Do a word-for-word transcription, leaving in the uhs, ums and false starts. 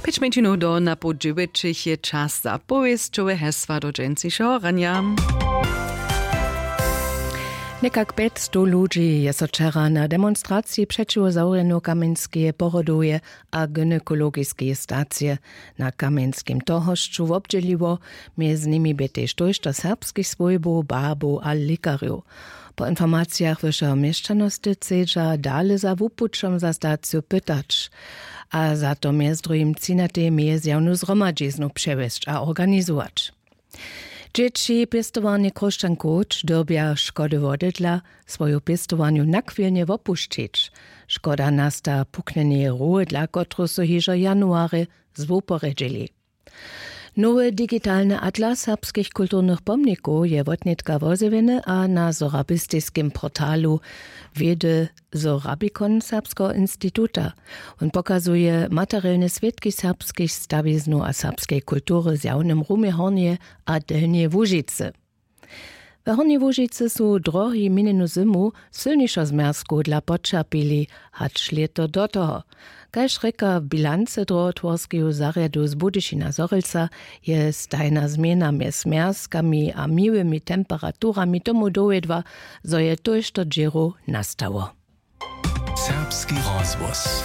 Pjeć mjeńšinow do na poł dźewjećich je čas za powěsćowe hesła do dźensnišeho ranja. Někak pjećstow ludźi je so wčera na demonstraciji přećiwo zawrjenju kamjenskeje porodowje a gynekologiskeje stacije na kamjenskim tohošću wobdźěliło. Mjez nimi bě tež tójšto serbskich swójbow, barbow a likarjow. Po informacijach wyšeho měšćanosty chcedźa dale za wupućom za staciju pytać a za to mjez druhim třinatej mjezjawnu zhromadźiznu přewjesć a organizować. Dźěći pěstowarnje Chróšćan Koć dyrbja škody wodydla, swoju pěstowarnju nachwilnje wopušćić. Škoda nasta puknjeneje rowy, dla kotruž su hižo januarje zwuporjedźili. Nowy digitalny atlas serbskich kulturnych pomnikow je wotnětka wozjewjeny a na sorabistiskim portalu wědy Sorabikon serbskeho instituta. Wón pokazuje materielne swědki serbskich stawiznow a serbskeje kultury w zjawnym rumje Hornjeje a Delnjeje Łužicy. We Hornjej Łužicy su drohi minjenu zymu sylnišo zmjerzkow dla poćerpili hač lěto do toho. Kaž rěka w bilancy drohotworskeju zarjadu z Budyšina Zhorjelca, je stajna změna mjez zmjerzkami a miłymi temperaturami tomu dowjedła, zo je tójšto dźěrow nastało. Serbski rozhłos.